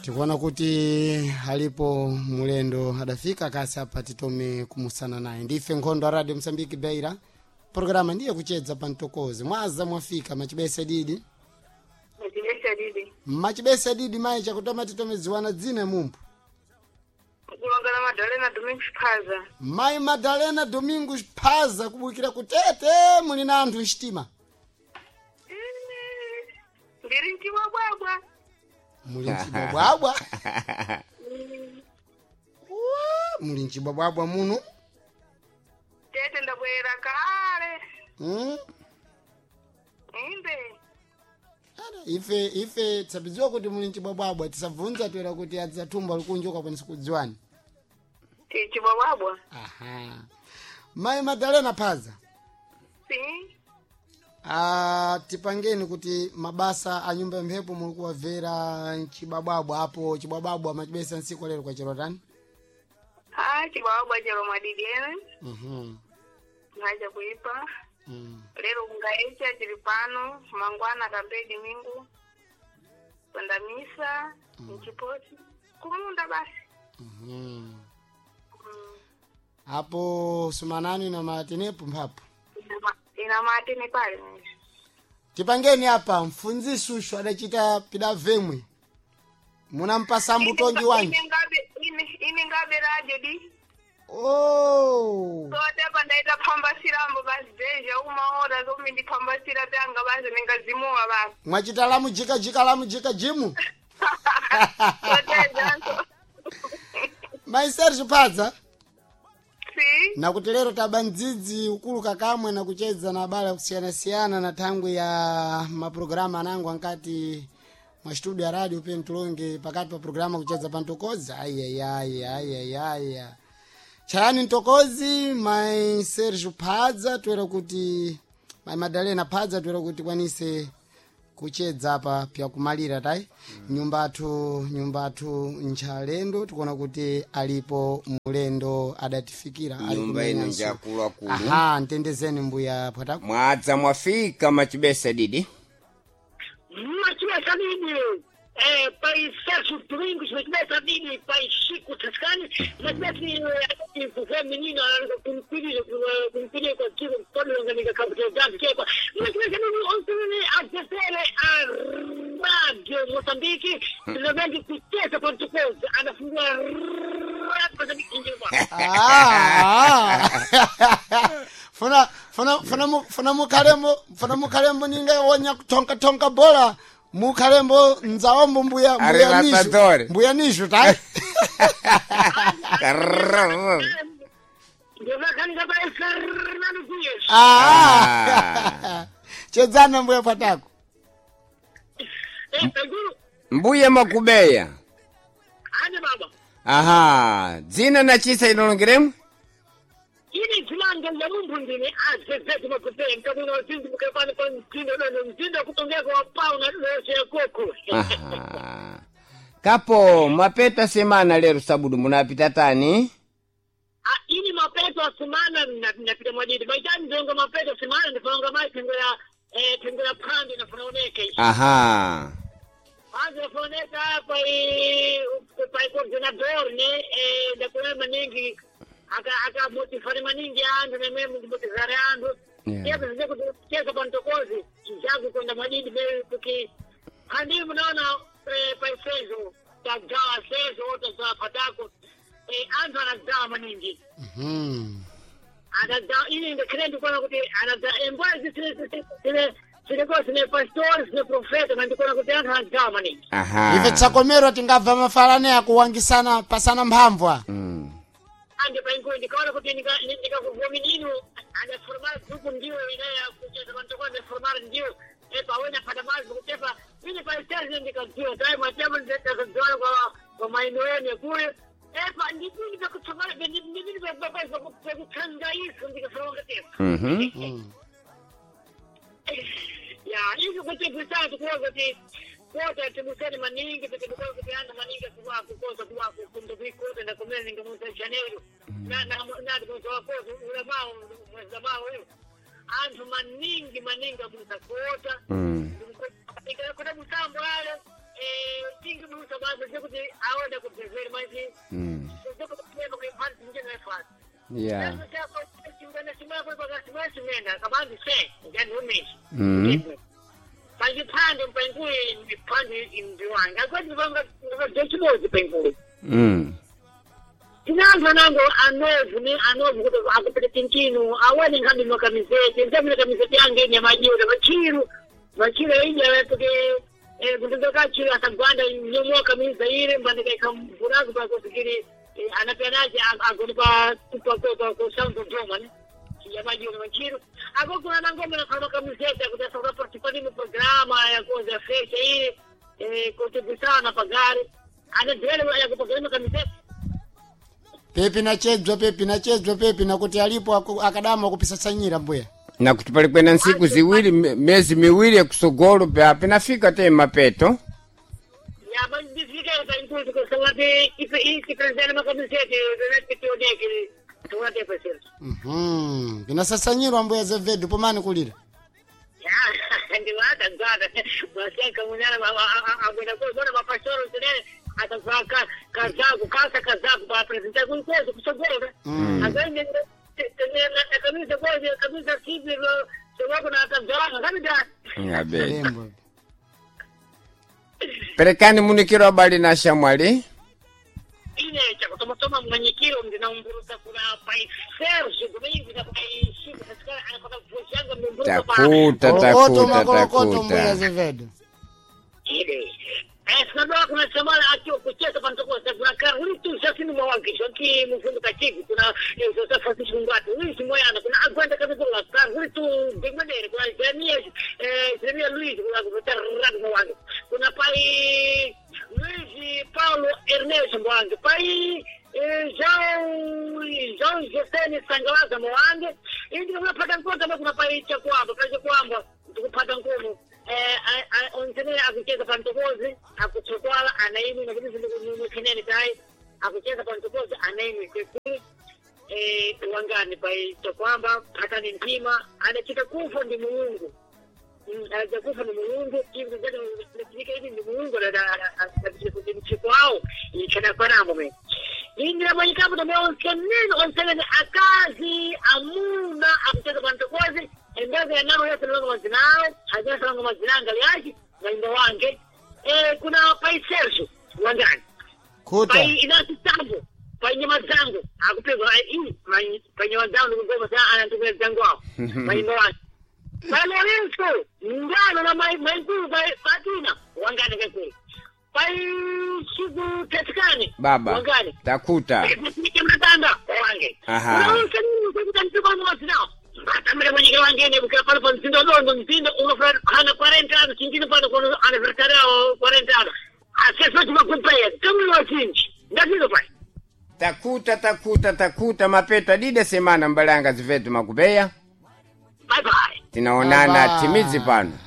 Tikuona kuti alipo mulendo adafika kasi apa titome kumusana naye. Ndife Nkhondo a Radio Msambiki Beira. Programa ndiye kuchedza pa mtokozi. Mwaza mwafika machibese didi. Machibese didi. Machibese didi mayi chakutoma titome ziwana dzina mumpu. Kulongana Madalena Domingos Phaza. Mayi Madalena Domingos Phaza kubukira kutete muli na anthu mchitima. Ndiri mchibwabwabwa. Muli mchibwabwabwa. Wa, muli mchibwabwabwa muno. Tete ndabwera kale. Inde. Ada, ife tisabidziwa kuti muli mchibwabwabwa tisabvunza toera kuti adzathumba likunja ukakwanisa kudziwani. Tichibwabwabwa. Aha. Mayi Madalena Phaza. Si. Ah, tipangeni kuti mabasa a nyumba ya mphepo muli kuwabvera mchibwabwabwa apo chibwabwabwa machibesa ntsiku lero kwa chero tani. Ha, chibwabwabwa chero mwadidi ene. Mwacha kuipa. Lero kungaecha chili pano, mangwana kambe mingu. Kwenda misa, mchiposi. Kumunda basi. Apo sumanani na matenepo mphapo. Ina matene pale. Tipangeni apa mfunzisi ushu adachita pida vemwe. Munampasa mbutongi wanji. Ine ngabe radio di. Oh. Sotepa ndaita phambasirambo basi deja umaora zomi ndiphambasira pyanga basi ningazimuwa basi. Mwachita lamu jika jika lamu jika jimu. Sotejanso. Mai Sergio Phaza. Si. Nakuti lero taba mdzidzi ukuluka kamwe na kuchedza na abale akusiyana-siyana na thangwi ya mapulogalamu anango ankati mwa studio ya radio pene tulonge pakati pa programa kuchedza pa mtokozi. Ayayaya chayani mtokozi mai Sergio Phaza toera kuti mai Madalena Phaza toera kuti kwanise kuchedza apa pyakumalira tai. Nyumbathu nchalendo tikuona kuti alipo mulendo adatifikira ali Nyumba ino kumenyanso. njakuluakulu. Aha, ntendezeni mbuya Pwatako. Mwadza mwafika machibesa didi. Machibesa didi. Pai Sérgio Domingos, Machibesa didi, pai Chico Toscani, Machibesa didi, menino, kumpidia kwa kiko mkono nganika kabuta dadi kekwa. Machibesa didi, ontem a descer a rádio Moçambique, realmente kucheza kwa mtukuzi, anafungua rádio Moçambique njema. Ah, ah. Funa funa funa funa mukhalembo funa mukhalembo ninga wonya kutonka tonka bola mukhalembo nzaombo mbuya mbuya nishu Arrebatador. mbuya nishu tai. Karrrr. Ndivakanika pai Fernando Dias. Ah. Chedzana mbuya Pwatako. Peguru, Mbuya Makubeya. ane baba. Aha, dzina na chisa inolongeremu? Ini dzilanga la mumbu ndine azezeti makupei nkabuno wazinzi mukapani pa mtindo dono mtindo kutongea kwa pau na lose ya koko. Aha. Kapo mapeta semana lero sabudu munapita tani? Ah, ini mapeto asimana napita mwadidi baitani ndongo mapeto asimana ndifanonga mai tengo ya tengo ya pandi nafonaoneke. Aha. Pandi nafonaoneka hapa pa coordinador ne ndakuna maningi aka aka motifare maningi andu nemwe motifare andu. Yeah. Yeah, zije kucheza pa mtokozi changu kwenda madidi be kuki handi mnaona paisezo tagawa sezo wote patako antu anagawa maningi anagawa ili ndikire ndikuona kuti anagawa embwa zile zilikuwa zine pastori zine profeta na ndikuona kuti anthu anagawa maningi. Aha. Ife tsakomerwa tingabva mafalane akuwangisana pasana mphamvu. Ande paingo ndikaona kuti ndikakuvomininu anaformar grupu ndiwo inaya kucheza pantoko anaformar ndiwo pawena patamazi kutepa ini paiseri ndikadziwa tai matemo ndikadziwa kwa kwa maino kule epa ndipini pekutsangana ndipini pekutsangaisa ndikafaronga tepa. Ya izvo kuti bwisatu kuwa kuti kota tibuseni maningi kuti kuwa kuti ana maningi kuwa kukoza kuwa kukunda kuikota ndakumene ningamusa janeiro na na na kuzoa koza ulamao mwezi mao hiyo anthu maningi maningi abusa kota. Kuna musambo ale Tingi musa basi kuti aone kubhezeri manje. Yeah. Pachipande pankulu pande imbiwanga akwati vanga vachibodzi pankulu. Tinango nango anovu ni anovu kuti akupita tinkinu awani ngambi makamizeti ndamina kamizeti yange ine majiwa machiru machiru ija kuti kundoka chiru asagwanda nyomoa kamiza ile mbandika ikamvuraku pakusikiri anapanaje agonipa kupa kwa sound doma ne yamajiwa machiru ako kuna nangoma na kama kamizeti akuti asa participar no programa ya coisa fecha ile contribuição na pagar anadele ya kupagana kamizeti. Pepi nachedzwa pepi nachedzwa pepi nakuti alipo akadama kupisasanyira mbuya. Nakuti pali kwena nsiku ziwiri mezi miwiri yakusogolo pinafika te mapeto. Ya, mas desliga aí, incluso, que eu sou de e se uma camiseta, eu não te odeio que tu vai ter parceiro. Pinasasanyirwa mbuya Azevedo pomani kulira. Ya, ndiwata gwada. Você como nela a buena coisa, bona uma pastora, entendeu? Ata ka casaco, calça casaco para apresentar com coisa, com seguro, né? Agora tem a camisa coisa, a camisa simples, eu vou na camisa, sabe da? Ngabe. Lembo. Perekani munikiro abali na shamwali. Ine chakutomatoma mwenyekiro ndinaumburuka kuna pai Sergio Domingo na pai Chico Pascal anapaka vujanga mumburuka pa Takuta Kolokoto takuta makolokoto mbuya takuta. Azevedo. ile sinabaa kuna semana akiwa kucheza pantokosa kuna Carlito Jacino Mwangi jonki mfundo kachivi kuna José Francisco Ngwati Luis Moyana kuna Aguanta Kabikola Carlito Bigmanere kuna Jeremias Jeremia Luis kuna Rad Mwangi kuna pai Luis Paulo Ernesto Mwangi pai João José Sangalaza Mwangi indi unapata nkono kuna pai Chakwamba pai Chakwamba tukupata nkono onsenene akucheza pantokozi akutsokwala anaimwe nakuti zindikumunene tai akucheza pantokozi anaimwe kwekulu wangani pai Chakwamba patani ntima anachita kufa ndi Mulungu anacha kufa ndi Mulungu ivi ivi ndi Mulungu mchiko wawo ikhanakwanamo mene indira mwanyikapo tamwe onsenene onsenene akazi amuna akucheza pantokozi endazo yanamo yose nalonga mazinao hajasalonga mazinanga lyaji mainda wange kuna pai Sergio wangani Kuta. pai inasi tambo pai nyama zangu akupegwa pai nyama zangu nikugoma sana anantumia zangu wao mainda wange pai Lorenzo ngano na maikulu pai Fatina wangani kekulu pai Shigu Tetikani Baba. wangani Takuta. mtanda wange. Aha. Batamire mwenyekero wange bukira pano pa mtindo dondo mtindo unofra hana 40 anos chintino pano kono aniversário 40 anos. Acesso de uma companhia, tamo no chinchi. Ndatizo pai. Takuta takuta takuta mapeto adide semana mbalanga zivetu makubeya. Bye bye. Tinaonana Bye bye. timizi pano.